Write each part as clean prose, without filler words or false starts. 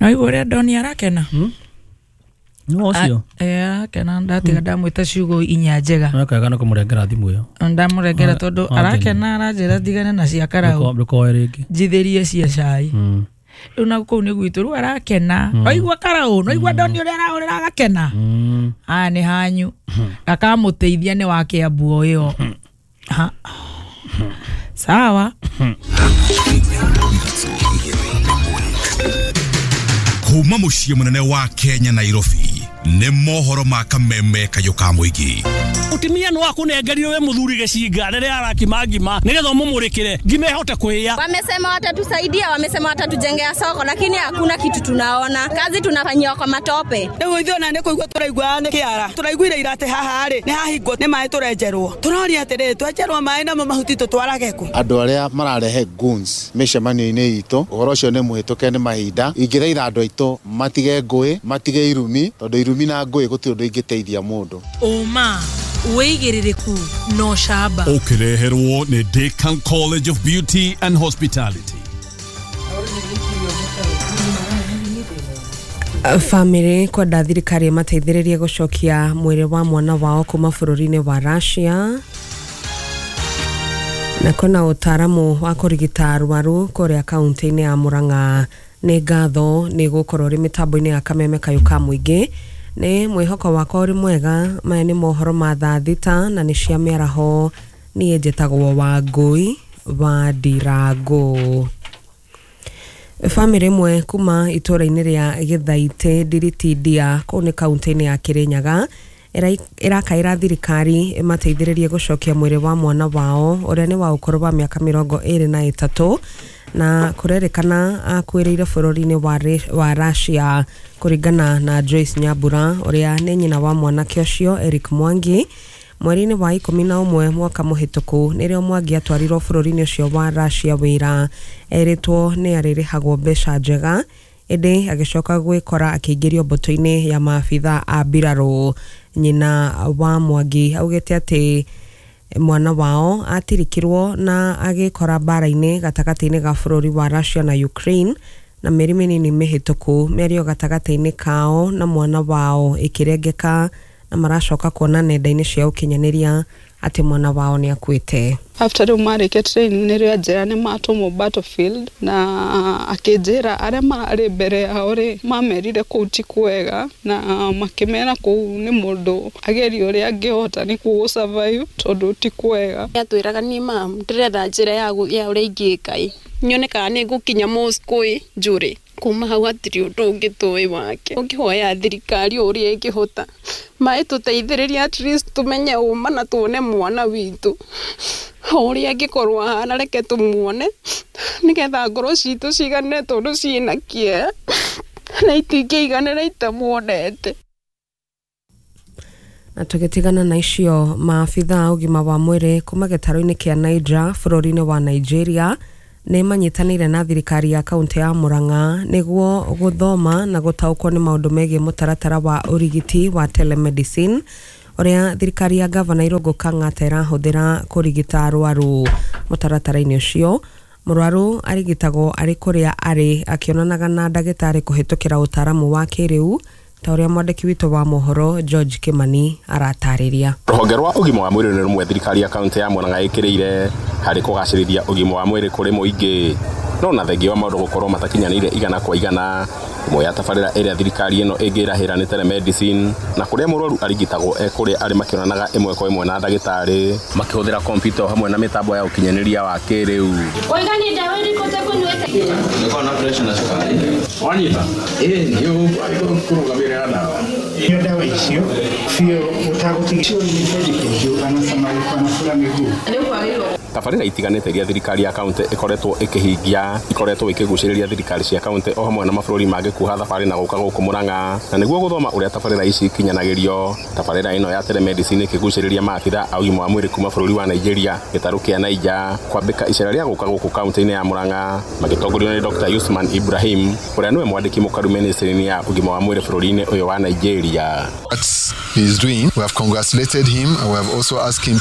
No igua ũrĩa Ndoni arakena. No ũcio. Arakena ndatiga ndamwĩta ciugo inya njega. No kega nĩ kũmũrengera thimũ ĩyo. Ndamũrengera tondũ arakena aranjĩra ndigane na cia karau. Ndũkoe rĩngĩ. Njithĩrie cia cai. Rĩu na kũu nĩ gwitũ rĩu arakena. Oigua karau, no igua Ndoni ũrĩa arahũrĩra agakena. Aya nĩ hanyu. Akamũteithia nĩ wa Kĩambu o ĩyo. Sawa. Kuma mũciĩ mũnene wa Kenya Nairobi nĩ mohoro ma kameme kayũ ka mũingĩ. Mũtumia no akunengerire we mũthuri gĩcinga rĩrĩa arakima ngima nĩgetha ũmũmũrĩkĩre ngima ĩhote kũhĩa. Wamesema watatusaidia, wamesema watatujengea soko, lakini hakuna kitu tunaona. Kazi tunafanyiwa kwa matope. Rĩu ithuĩ ona nĩ kũigua tũraigua nĩ kĩara. Tũraiguire ira atĩ haha rĩ nĩ hahingwo nĩ maĩ tũrenjerwo. Tũroria atĩrĩrĩ, twenjerwo maĩ namo mahuti tũtwarage kũ? Andũ arĩa mararehe goons mĩcemanio-inĩ itũ, ũhoro ũcio nĩ mũhĩtũke nĩ mahinda. Ingĩthaitha andũ aitũ matige ngũĩ, matige irumi, tondũ irumi na ngũĩ gũtirĩ ũndũ ingĩteithia mũndũ. Ũma wĩigĩrĩrĩku no camba. Ũkĩreherwo nĩ Decan College of Beauty and Hospitality. Famĩlĩ kwenda thirikari ĩmateithĩrĩrie gũcokia mwĩrĩ wa mwana wao kuma bũrũri-inĩ wa Russia. Na kwĩna ũtaaramu wa kũrigita arwaru kũrĩa kaunti-inĩ ya Murang'a. Nĩ ngatho nĩ gũkorwo ũrĩ mĩtambo-inĩ ya kameme kayũ ka mũingĩ. Nĩ mwĩhoko wakwa ũrĩ mwega. Maya nĩ mohoro ma thaa thita na nĩ cia mĩaraho. Niĩ njĩtagwo Wangũi wa Ndirango. Famĩlĩ ĩmwe kuma itũũra-inĩ rĩa Gĩthaitĩ Ndiritindia kũu nĩ kaunti-inĩ ya Kĩrĩnyaga ĩrakaĩra thirikari ĩmateithĩrĩrie gũcokia mwĩrĩ wa mwana wao ũrĩa nĩ wa ũkũrũ wa mĩaka 23 na kũrerĩkana akuĩrĩire bũrũri-inĩ wa Russia kũringana na Joyce Nyambura ũrĩa nĩ nyina wa mwanake ũcio Eric Mwangi. Mweri-inĩ wa 11 mwaka mũhĩtũku nĩrĩo Mwangi atwarirwo bũrũri-inĩ ũcio wa Russia wĩra. Erĩtwo nĩ arĩrĩhagwo mbeca njega ĩndĩ agĩcoka gwĩkora akĩingĩrio mbũtũ-inĩ ya maabitha a mbirarũ. Nyina wa Mwangi augĩte atĩ mwana wao atirikirwo na agĩkora mbara-inĩ gatagatĩ-inĩ ga bũrũri wa Russia na Ukraine na mĩeri mĩnini mĩhĩtũku mĩario gatagatĩ-inĩ kao na mwana wao ĩkĩrengeka na maracoka kuona nenda-inĩ cia ũkinyanĩria atĩ mwana wao nĩ akuĩte. After rĩu marĩkia training nĩrĩo anjĩra nĩ matũmwo battlefield na akĩnjĩra arĩa mararĩ mbere yao rĩ mamerire kũu ti kwega na makĩmera kũu nĩ mũndũ agerie ũrĩa angĩhota nĩguo gũ survive tondũ ti kwega. Atwĩraga niĩ mam ndĩretha njĩra ya ũrĩa ingĩka ĩ nyone kana nĩ ngũkinya Moscow ĩ njũrĩ. Kuma hau hatirĩ ũndũ ũngĩ tũĩ wake. Ũngĩhoya thirikari ũrĩa ĩngĩhota maĩ tũteithĩrĩrie at least tũmenye ũma na tuone mwana witũ ũrĩa angĩkorwo ahana, reke tũmuone nĩgetha ngoro citũ cigane tondũ ciĩna kĩeha na itingĩiganĩra itamuonete. Na tũgĩtigana na icio, maabitha a ũgima wa mwĩrĩ kuma gĩtarũ-inĩ kĩa Niger bũrũri-inĩ wa Nigeria nĩ manyitanĩire na thirikari ya kaunti ya Murang'a nĩguo gũthoma na gũtaũkwo nĩ maũndũ megiĩ mũtaratara wa ũrigiti wa telemedicine ũrĩa thirikari ya gavana Irũngũ Kang'ata ĩrahũthĩra kũrigita arwaru. Mũtaratara-inĩ ũcio mũrwaru arigitagwo arĩ kũrĩa arĩ akĩonanaga na ndagĩtarĩ kũhĩtũkĩra ũtaaramu wa kĩrĩu ta ũrĩa mwandĩki witũ wa mohoro George Kimani aratarĩria. Rũhonge rwa ũgima wa mwĩrĩ nĩ rũmwe thirikari ya kaunti ya Murang'a ĩkĩrĩire harĩ kũgacĩrithia ũgima wa mwĩrĩ kũrĩ mũingĩ, no na thengia wa maũndũ gũkorwo matakinyanĩire igana kwa igana. Ĩmwe ya tabarĩra ĩrĩa thirikari ĩno ĩngĩrahĩra nĩ telemedicine na kũrĩa mũrwaru arigitagwo e kũrĩa arĩ makĩonanaga ĩmwe kwa ĩmwe na ndagĩtarĩ makĩhũthĩra kompiuta hamwe na mĩtambo ya ũkinyanĩria wa kĩrĩu. Tabarĩra itiganĩte iria thirikari ya kaunti ĩkoretwo ĩkĩhingia ikoretwo ikĩgucĩrĩria thirikari cia kaunti o hamwe na mabũrũri mangĩ kuoha thabarĩ na gũka gũkũ Murang'a na nĩguo gũthoma ũrĩa tabarĩra ici ikinyanagĩrio. Tabarĩra ĩno ya telemedicine ĩkĩgucĩrĩria maabitha a ũgima wa mwĩrĩ kuma bũrũri wa Nigeria gĩtarũ kĩa Niger kwambĩka icera rĩa gũka gũkũ kaunti-inĩ ya Murang'a magĩtongorio nĩ Dr. Usman Ibrahim ũrĩa nĩwe mwandĩki mũkaru ministry-inĩ ya ũgima wa mwĩrĩ bũrũri-inĩ ũyũ wa Nigeria. He is doing. We have congratulated him and we have also asked him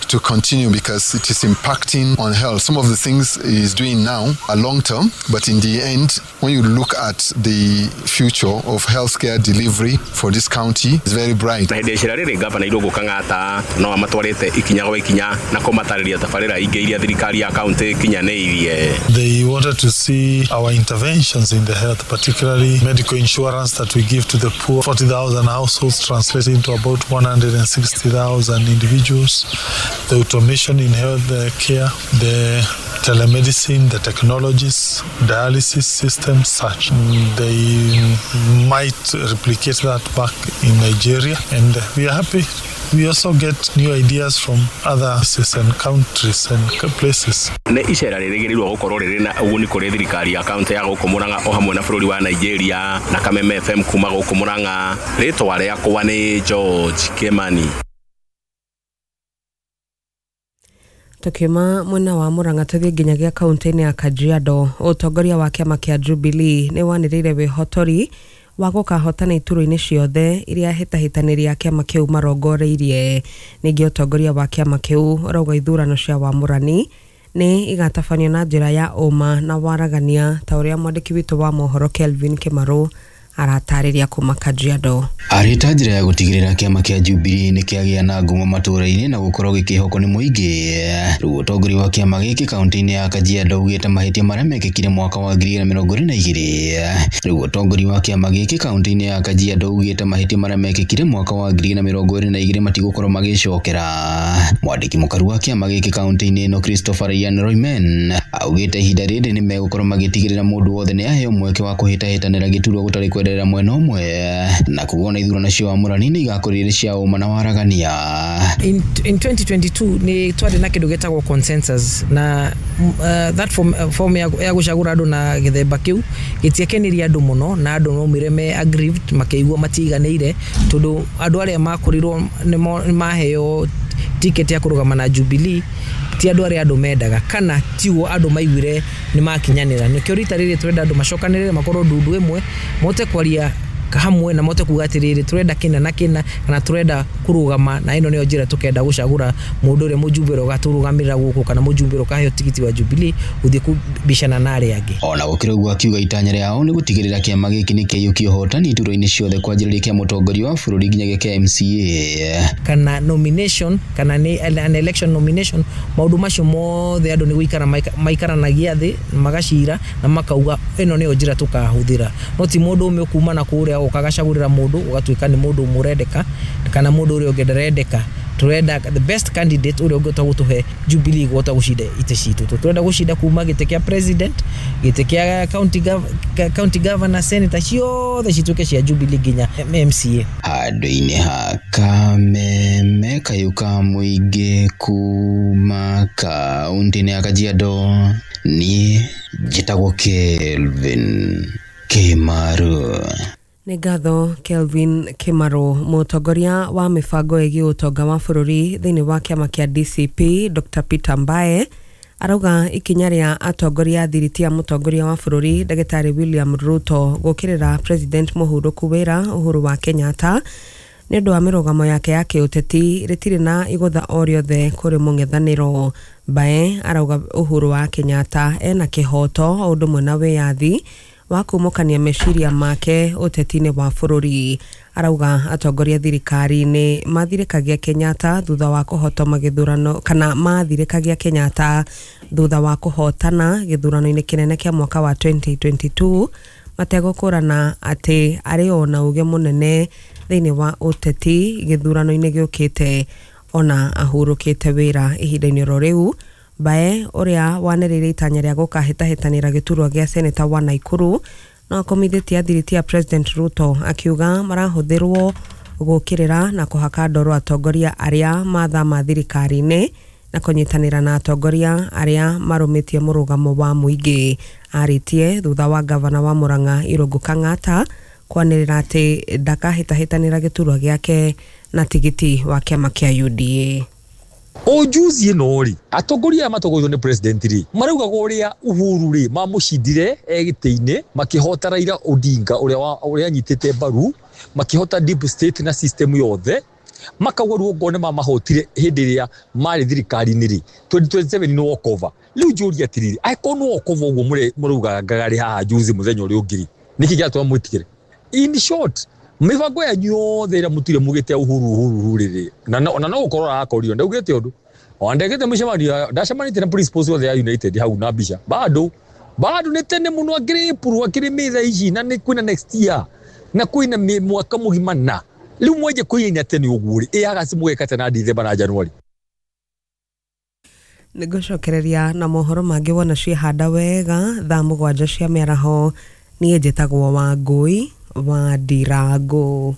to continue because it is impacting on health. Some of the things he's doing now are long term, but in the end, when you look at the future of healthcare delivery for this county, it's very bright. Na hĩndĩ icera rĩrĩ gavana Irũngũ Kang'ata no amatwarĩte ikinya gwa ikinya na kũmatarĩria tabarĩra ingĩ iria thirikari ya kaunti ĩkinyanĩirie. They wanted to see our interventions in the health, particularly medical insurance that we give to the poor. 40,000 households translating to about 160,000 individuals. The automation in health care, the telemedicine, the technologies, dialysis systems, such. They might replicate that back in Nigeria, and we are happy. We also get new ideas from other places and countries and places. Nĩ icera rĩrĩgĩrĩirwo gũkorwo rĩrĩ na ũguni kũrĩ thirikari ya kaunti ya gũkũ Murang'a o hamwe na bũrũri wa Nigeria. Na Kameme FM kuma gũkũ Murang'a, rĩtwa rĩakwa nĩ George Kimani. Tukiuma mwena wa Murang'a tuthie nginyagia kaunti-inĩ ya Kajiado. Ũtongoria wa kĩama kĩa Jubilee nĩ wanĩrĩire wĩhotori wa gũkahotana iturwa-inĩ ciothe iria hĩtahĩtanĩri a kĩama kĩu marongoreirie. Ningĩ ũtongoria wa kĩama kĩu ũrauga ithurano cia wamũrani nĩ igatabanio na njĩra ya ũma na waragania, ta ũrĩa mwandĩki witũ wa mohoro Kelvin Kĩmarũ aratarĩria kuma Kajiado. Arĩ ta njĩra ya gũtigĩrĩra kĩama kĩa Jubilee nĩ kĩagĩa na ngumo matũũra-inĩ na gũkorwo gĩkĩhokwo nĩ mũingĩ. Rĩu ũtongoria wa kĩama gĩkĩ kaunti-inĩ ya Kajiado ugĩte mahĩtia marĩa mekĩkire mwaka wa 2022. Rĩu ũtongoria wa kĩama gĩkĩ kaunti-inĩ ya Kajiado ugĩte mahĩtia marĩa mekĩkire mwaka wa 2022 matigũkorwo magĩcokera. Mwandĩki mũkaru wa kĩama gĩkĩ kaunti-inĩ ĩno Christopher Ian Royman augĩte ihinda rĩrĩ nĩ megũkorwo magĩtigĩrĩra mũndũ wothe nĩ aheo mweke wa kũhĩtahĩtanĩra gĩturwa gũtarĩ kwenderera mwena ũmwe, na kuona ithurano cia wamũrani nĩ igakorwo irĩ cia ũma na waragania. In 2022 nĩ twarĩ na kĩndũ gĩtagwo consensus na that form ya gũcagũra andũ na gĩthemba kĩu gĩtiakenirie andũ mũno, na andũ maumire me aggrieved makĩigua matiganĩire, tondũ andũ arĩa makorirwo nĩ maheo ticket ya kũrũgama na Jubilee ti andũ arĩa andũ mendaga, kana tiguo andũ maiguire nĩ makinyanĩra. Nĩkĩo rita rĩrĩ tũrenda andũ macokanĩrĩre makorwo ndundu ĩmwe, mote kwaria hamwe na mote kuga atĩrĩrĩ tũrenda kĩna na kĩna, kana tũrenda kũrũgama na ĩno nĩyo njĩra tũkenda gũcagũra mũndũ ũrĩa mũjumbe ũrĩa ũgatũrũgamĩrĩra gũkũ, kana mũjumbe ũrĩa ũkaheo tigiti wa Jubilee gũthiĩ kũbicana na arĩa angĩ. Ona gũkĩrĩ ũguo akiuga itanya rĩao nĩ gũtigĩrĩra kĩama gĩkĩ nĩ kĩaiyũkia ũhotani iturwa-inĩ ciothe kwanjĩrĩria kĩa mũtongoria wa bũrũri nginyagia kĩa MCA. Kana nomination, kana nĩ an election nomination, maũndũ macio mothe andũ nĩ gũikara maikaranagia thĩ magacira na makauga ĩno nĩyo njĩra tũkahũthĩra. No ti mũndũ ũmwe kuma na kũrĩa ũkagacagũrĩra mũndũ ũgatuĩka nĩ mũndũ ũmwe ũrendeka kana mũndũ ũrĩa ũngĩ ndarendeka. Turenda the best candidate ũrĩa ũngĩhota gũtũhe Jubilee gũhota gũcinda itĩ citũ. Turenda gũcinda kuma gĩtĩ kĩa president, gĩtĩ kĩa county governor, senator, ciothe cituĩke cia Jubilee nginya MCA. Handũ-inĩ ha Kameme kayũ ka mũingĩ kuma kaunti-inĩ ya Kajiado, niĩ njĩtagwo Kelvin Kĩmaru. Nĩ ngatho Kelvin Kĩmarũ. Mũtongoria wa mĩbango ĩgiĩ ũtonga wa bũrũri thĩinĩ wa kĩama kĩa DCP Dr. Peter Mbae arauga ikinya rĩa atongoria a thiriti ya mũtongoria wa bũrũri Ndagĩtarĩ William Ruto gũkĩrĩra President mũhurũku wĩra Uhuru wa Kenyatta nĩ ũndũ wa mĩrũgamo yake ya kĩũteti rĩtirĩ na igũtha o rĩothe kũrĩ mũng'ethanĩro. Mbae arauga Uhuru wa Kenyatta ena kĩhoto o ũndũ ũmwe na wĩyathi wa kumũkania meciria make ũteti-inĩ wa bũrũri. Arauga atongoria thirikari-inĩ mathirĩkagia Kenyatta thutha wa kũhotoma gĩthurano, kana mathirĩkagia Kenyatta thutha wa kũhotana gĩthurano-inĩ kĩnene kĩa mwaka wa 2022 mategũkũrana atĩ arĩ o na ũgĩ mũnene thĩinĩ wa ũteti gĩthurano-inĩ gĩũkĩte ona ahurũkĩte wĩra ihinda-inĩ oro rĩu. Mbae ũrĩa wanĩrĩire itanya rĩa gũkahĩtahĩtanĩra gĩturwa gĩa seneta wa Naikuru no akomithĩtie athiriti ya President Ruto akiuga marahũthĩrwo gũkĩrĩra na kũhaka ndoro atongoria arĩa mathama thirikari-inĩ na kũnyitanĩra na atongoria arĩa marũmĩtie mũrũgamo wa mũingĩ. Arĩtie thutha wa gavana wa Murang'a Irũngũ Kang'ata kwanĩrĩra atĩ ndakahĩtahĩtanĩra gĩturwa gĩake na tigiti wa kĩama kĩa UDA. O juzi ĩno rĩ, atongoria aya matongoretio nĩ president rĩ, maraugaga ũrĩa Uhuru rĩ mamũcindire gĩtĩ-inĩ, makĩhota Raila Odinga ũrĩa anyitĩte mbaru, makĩhota deep state na system yothe. Makauga rĩu okorwo nĩ mamahotire hĩndĩ ĩrĩa marĩ thirikari-inĩ rĩ, 2027 nĩ walkover. Rĩu njũria atĩrĩrĩ, angĩkorwo nĩ walkover ũguo mũraugaga ngarĩ haha juzi mũthenya ũrĩa ũngĩ rĩ, nĩkĩ kĩratũma mwĩtigĩre? In short, mĩbango yanyu yothe ĩrĩa mũtire mugĩte Uhuru Uhuru Uhuru rĩ, na no gũkorwo arakorio ndaugĩte ũndũ ona ndekĩte mũcemanio, ndacemanĩtie na principals othe ya United hau na mbica bado bado nĩ tene mũno, akĩrĩ April akĩrĩ May thaa ici, na nĩ kwĩna next year na kwĩna mwaka mũgima, na rĩu mwenje kũiyaina tene ũguo rĩ, ĩ August mũgeka tena December na January. Nĩngũcokereria na mohoro mangĩ wona ciehanda wega thaa 7 cia mĩaraho. Niĩ njĩtagwo Wangũi wa Ndirango.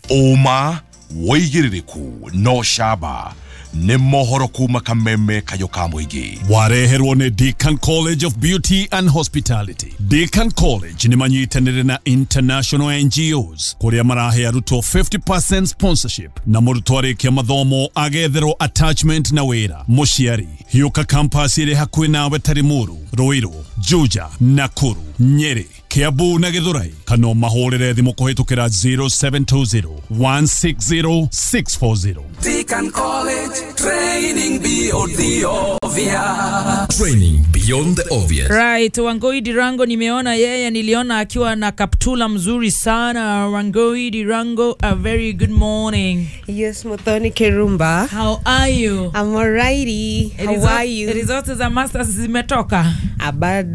Ũma wĩigĩrĩrĩku no camba nĩ mohoro kuma Kameme Kayũ ka mũingĩ. Wareherwo nĩ Deacon College of Beauty and Hospitality. Deacon College nĩ manyitanĩire na international NGOs kũrĩa marahe arutwo 50% sponsorship na mũrutwo arĩkia mathomo agetherwo attachment na wĩra. Mũciari hiũka campus ĩrĩ hakuhĩ nawe ta Limuru, Ruiru, Juja, Nakuru, Nyeri, Kiambu na Githurai, kana mahũrĩre thimũ kũhĩtũkĩra 0720 160 640. Deacon College, training beyond the obvious. Training beyond the obvious. Right, Wangui Dirango nimeona yeye, niliona akiwa na kaptula mzuri sana. Wangui Dirango, a very good morning. Yes, Muthoni Kirumba. How are you? I'm alrighty. How are you? Results za masters zimetoka?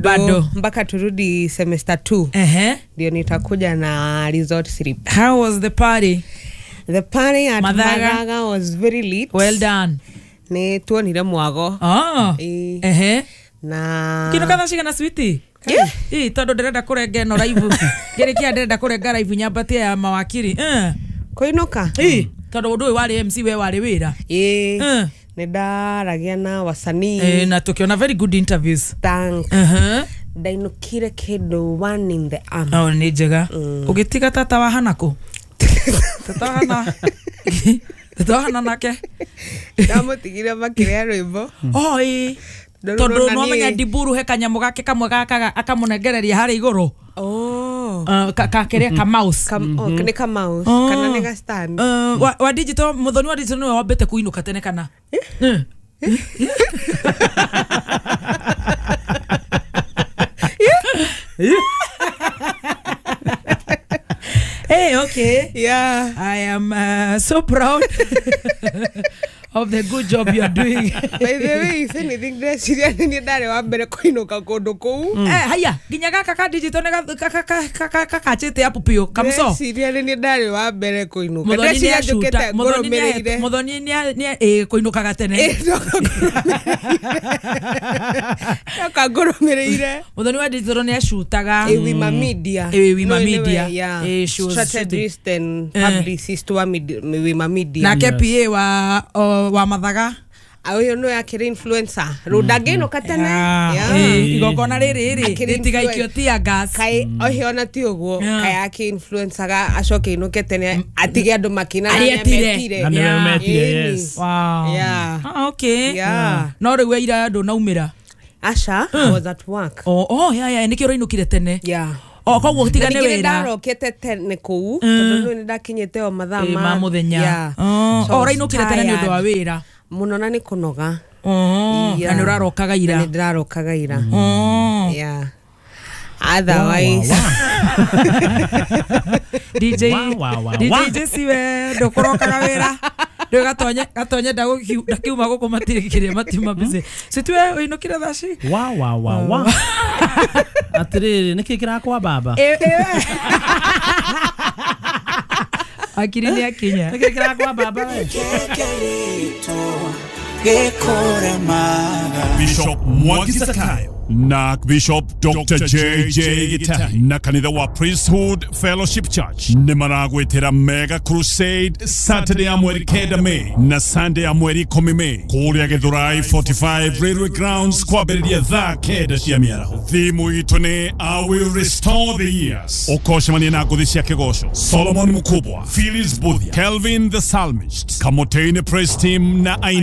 Bado. Mpaka turudi semester 2. Ndio nitakuja na result slip. How was the party? The party at Mathaga was very lit. Well done. Ni tuonire mwago. Oh. Na kino katha cigana switi? Yeah. Tondu ndirenda kũrenga ĩno live. Ngĩrĩkia ndirenda kũrenga live nyambatie ya mawakiri. Kũinũka? Tondu ũndũ ũyũ warĩ MC we warĩ wĩra. Nĩ ndaragia na wasanii. Na tukiona very good interviews. Thank. Ndainũkire kĩndũ one in the arm. Oh, nĩ njega. Ũgĩtiga tata wa hana kũ? Tata wa hana nake. Ndamũtigire makĩrĩa rwĩmbo. Oh, tondu no menya Ndiburu he kanyamũ gake kamwe gakaga akamũnengereria harĩa igũrũ. Oh. Kakĩrĩa ka mouse. Nĩ ka mouse kana nĩ ga stand. Wa digital, Muthoni wa digital nĩwe wambĩte kũinũka tene kana? Hey, okay. Yeah. I am so proud of the good job you are doing. By the way, if anything, ndeciria nĩ ndarĩ wa mbere kũinũka kũndũ kũu. Haya, nginya gaka ka digital nĩ gakachĩte app piũ kamso. Ndeciria nĩ ndarĩ wa mbere kũinũka. Ndeciria njũkĩte ngũrũmĩrĩire. Muthoni nĩ kũinũkaga tene. Ndoka ngũrũmĩrĩire. Muthoni wa digital nĩ acutaga. Wima Media. Wima Media. Strategist and publicist wa Wima Media. Nake PA wa Mathaga. Ũyũ nĩwe akĩrĩ influencer. Rĩu ndangĩinũka tene. Igongona rĩrĩ rĩ rĩtigaikio tear gas. Kaĩ ohe ona ti ũguo, kaĩ akĩ influencer-ga acoke ainũke tene atige andũ makĩina na nĩmetire. Na nĩmetire, yes. Wow. Yeah. Okay. Yeah. No rĩu ira ndũnaumĩra? Aca, I was at work. Oh, yeah, nĩkĩo ũrainũkire tene. Yeah. Koguo tigane wĩra. Ndarokete tene kũu tondũ nĩ ndakinyĩte o mathaa ma mũthenya. Ũrainũkire tene nĩ ũndũ wa wĩra mũno na nĩ kũnoga. Na nĩ ũrarokaga ira. Nĩ ndĩrarokaga ira. Yeah. Otherwise DJ DJ siwe ndũkũrokaga wĩra. Rĩu gatonye ndakiuma gũkũ matirĩ kĩrĩa matiuma busy. Situe ũinũkire thaa ci? Wa. Atĩrĩrĩ, nĩkĩ kĩrakwa baba? Akiri nĩ akinya. Nĩkĩ kĩrakwa baba we? Bishop Mwangi Zakayo na Bishop Dr. JJ Gitari na kanitha wa Priesthood Fellowship Church nĩ maragwĩtĩra Mega Crusade Saturday ya mweri 9 May na Sunday ya mweri 10 May kũrĩa Githurai 45 Railway Grounds kwambĩrĩria thaa 9 cia mĩaraho. Thimu itũ nĩ I will restore the years. Ũkocemania na ngũthi cia kĩgoco Solomon Mukubwa, Phyllis Buthia, Kelvin the Psalmist, Kamotene Praise Team na